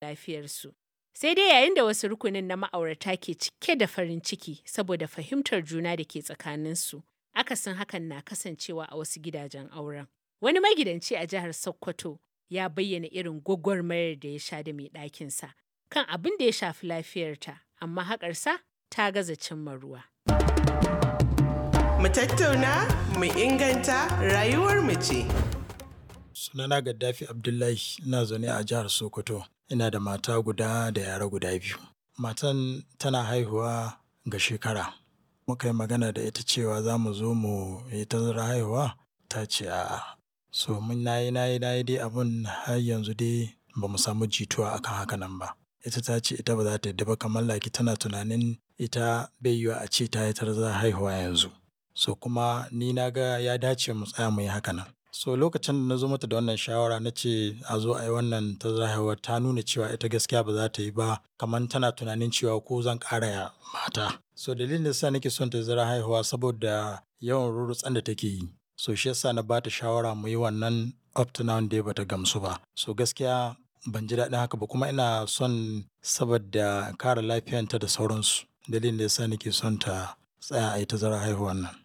lafiyarsu. Sai dai yayin da wasu rukunin na ma'aurata ke cike da farin ciki saboda fahimtar juna da ke tsakaninsu, akasin hakan na kasancewa a wasu gidajen auren. Wani magidanci a jihar Sokoto ya bayyana irin gwagwarmayar da ya sha da mai ɗakinsa kan abin da ya shafi lafiyarta, amma haƙarsa ta gaza cimma ruwa. Mu tattauna, mu inganta rayuwar mu ce. Sunana Gaddafi Abdullahi, ina zaune a jihar Sokoto. Ina da mata guda da yara guda biyu. Matan tana haihuwa ga shekara. Muka yi magana da ita cewa za mu zo mu yi tazarar haihuwa, ta ce a'a. So mun nayi nayi nayi dai abun har yanzu dai ba mu samu jituwa akan haka nan ba. Ita ta ce ita ba za ta yadda ba, kamar like tana tunanin ita bai yiwuwa a ce ta yi tazarar haihuwa yanzu. So kuma ni na ga ya dace mu tsaya mu yi haka nan. So lokacin da na zo mata da wannan shawara na ce a zo a yi wannan tazarar haihuwa, ta nuna cewa ita gaskiya ba za ta yi ba, kamar tana tunanin cewa ko zan ƙara mata. So dalilin da yasa nake son tazarar haihuwa saboda yawan rurrutsan da take yi. So shi yasa na ba ta shawara mu yi wannan, up to now dai bata gamsu ba. So gaskiya ban ji daɗin haka ba, kuma ina son saboda kare lafiyanta da sauransu. Dalilin da yasa nake son ta tsaya a yi tazarar haihuwan nan.